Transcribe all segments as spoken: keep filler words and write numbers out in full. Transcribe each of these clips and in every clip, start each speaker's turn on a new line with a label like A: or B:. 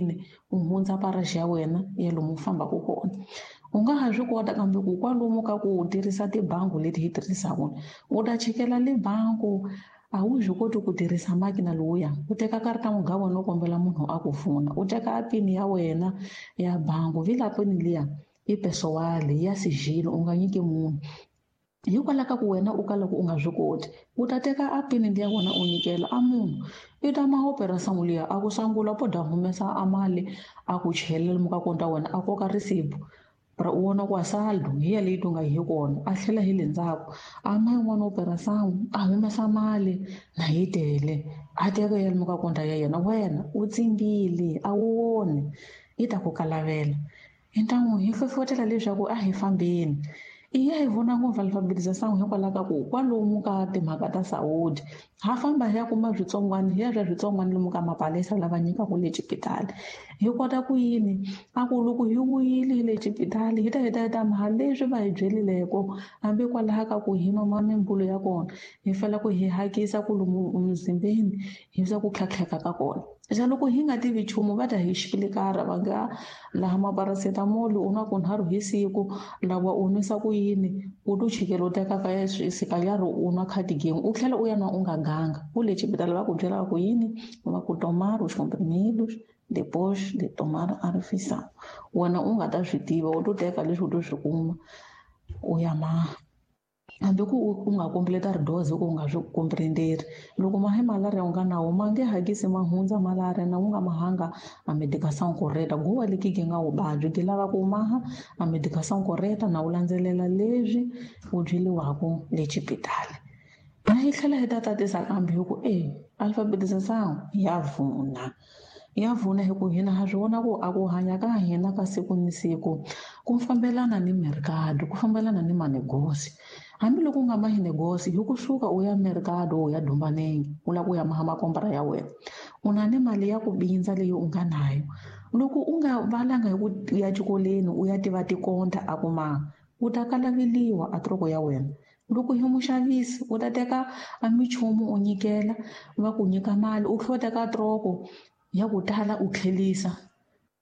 A: yini u hundza paraxi ya wena ya lomu u fambaka kona. U nga ha swi kota kambe ku kwalomu ka ku tirhisa tibangi leti hi tirhisaka u ta chikela le bangi a wu swi koti ku tirhisa makina lowuya u teka karata muga wena u kombela munhu a ku pfuna u teka pini ya wena ya bangi vila pini liya i pesowale ya sigilo u nga nyiki munhu hikwalaho ka ku wena u ka loko u nga swi koti u ta teka a pini liya wena u nyikela a munhu i ta ma opera liya a ku sangula po da humesa a mali a ku chelela lomu ka konta wena a koka risipu ra u vona ku a saldo hi yaleyi to nga hi kona a tlhela hi le ndzhaku a ma yin'wana opera sangu a humesa mali na yi tele a teka ya lomu ka konta ya yena wena u tsimbile a wu voni yi ta ku kalavela hi ntamu hi hlohlotela leswaku a hi fambeni i ya hi vona ngopfu alfabetization hikwalaho ka ku kwalomu ka timhaka ta sawudi ha famba hi ya kuma switsongwana hi ya swa switsongwana lomu ka mapalesa lava nyikaka le xipitali hi kota ku yini a ku loko hi vuyile hi le xipitali hi ta hi ta hi ta maha leswi va hi byerileko hambi kwalaho ka ku hi nwa mimbulo ya kona hi fanele ku hi hakisa ku lomu emzimbeni hi swa ku tlhatlheka ka kona. Xa loko hi nga tivi nchumu va ta hi xipilikara va nga laha maparacetamol u nwa kunharhu hi siku lawa u nwisa ku yini u to chikela u teka ka sikanyarhi u nwa cardigan u tlhela u ya nwa u nga ganga u le xipitali va ku byela va ku yini va ku tomar os comprimidos depois de tomar a refeição wena u nga ta swi tiva u to teka leswi u to swi kuma u ya maha hambi ku u nga completa dose ku u nga swi comprenderi loko mahe malaria u nga nawo ma nge hakisi ma hundza malaria na u nga mahanga a medication correta guwa leki gi nga wu vabyi ti lava ku maha a medication correta na u landzelela leswi u byeliwaku le xipitali na hi tlhela hi ta tatisa kambe hi ku e alfabetization ya vuna ya vuna hi ku hina ha swi vona ku a ku hanya ka hina ka siku ni siku ku fambelana ni mercado ku fambelana ni manegosi hambiloko u nga mahi negosi hi kusuka u ya mercado u ya dumbanenge u lava ku ya maha makombra ya wena u na ni mali ya ku bindza leyi u nga nayo loko u nga valanga hi ku ya xikolweni u ya tiva tikonta a ku maha u ta kalaveliwa a troko ya wena loko hi muxavisi u ta teka a minchumu u nyikela va ku nyika mali u tlhela u teka troko ya ku tala u tlhelisa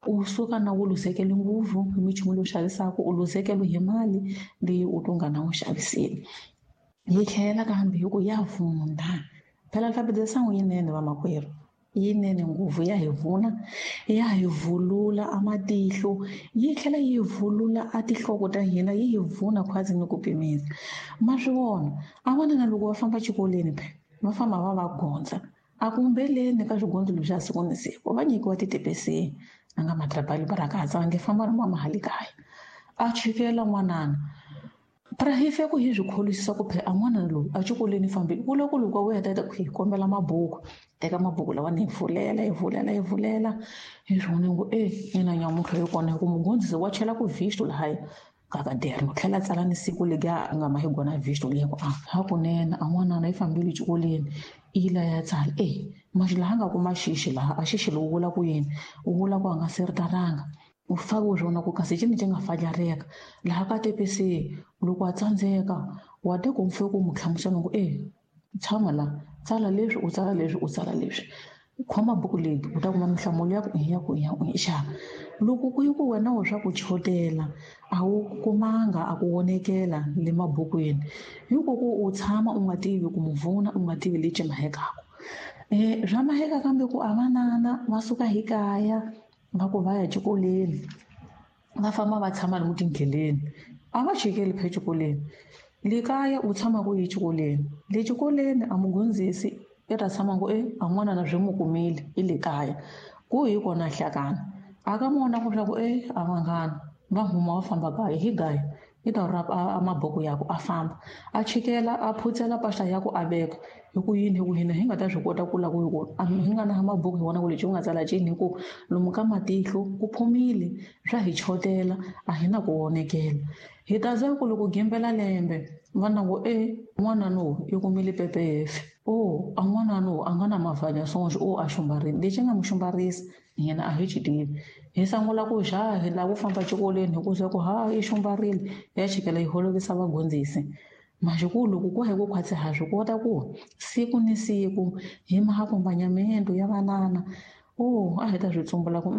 A: u suka na wu luzekele ngopfu hi minchumu leyi u xavisaka u luzekele hi mali leyi u to nga na wu xaviseni yi tlhela kambe hi ku ya vuna phela alfabetization yinene vamakwerhu yinene ngopfu ya hi vuna ya hi vulula a matihlo yi tlhela yi vulula a tinhloko ta hina yi hi vuna khwazi ni ku pimisa ma swi vona a vona na loko va famba xikolweni phela va famba va va gondza a kumbeleni ka swigondzo leswi siku ni siku va nyikiwa titepesi a nga matrabali barakatsa va nge famba na mama hale kaya a chikela n'wanana pra hi fe ku hi swi kholisisa ku phela a n'wana loyi a xikolweni fambile ku loko loko u heta ku hi kombela mabuku teka mabuku lawa ni hi pfulela hi pfulela hi pfulela hi swi vona ngo e ina nyamuntlha yi kona hi ku mugondzisi wa chela ku visto lahaya kakaderno tlhela tsala ni siku legi a nga ma hi gona visto liya ku a hakunene a n'wanana yi fambile xikolweni i la ya tsala e maxi laha nga kuma xixi laha a xixi lowu vula ku yini u vula ku a nga siritaranga u fake u swona ku kasi cini ci nga fajareka laha ka tepesi loko a tsandzeka wa te ku mfe ku mu hlamusela ku e tshama la tsala leswi u tsala leswi u tsala leswi khoma buku leyi u ta kuma minhlamulo ya ku ya ku ya ku xa loko ku yi ku wena u swa ku chotela a wu kumanga a ku vonekela le mabukwini hiko ku u tshama u nga tivi ku muvuna u nga tivi lexi mahekaka eh swa maheka kambe ku a vanana va suka hi kaya va ku va ya xikolweni va famba va tshama lomu tindleleni a va chikeli phe xikolweni le kaya u tshama ku yi xikolweni le xikolweni a mugondzisi i ta tshama ku e a n'wana na swi mu kumile i le kaya ku hi kona hlakana a ka mona ku swa ku e a vanghana va huma va famba kaya hi gaya i ta rapa a mabuku ya ku a famba a chikela a phutsela mpahla ya ku a veka hi ku yini hi ku hina hi nga ta swi kota ku la ku hi ku hi nga na mabuku hi vona ku lexi u nga tsala cini hi ku lomu ka matihlo ku phumile swa hi chotela a hi na ku vonekela hi ta za ku loko gembela lembe va na ku e n'wana no i kumile pepefe o a n'wana no a nga na mavhanya sonje o a xumbarini lexi nga mu xumbarisa yena a hi xi tivi hi sungula ku xa hi lava ku famba xikolweni hi ku swa ku ha i xumbarile ya chikela yi holovisa vagondzisi maxikulu loko ku hi ku khwatsi ha swi kota ku siku ni siku hi ma accompagnamento ya vanana o a hi ta swi tsumbula ku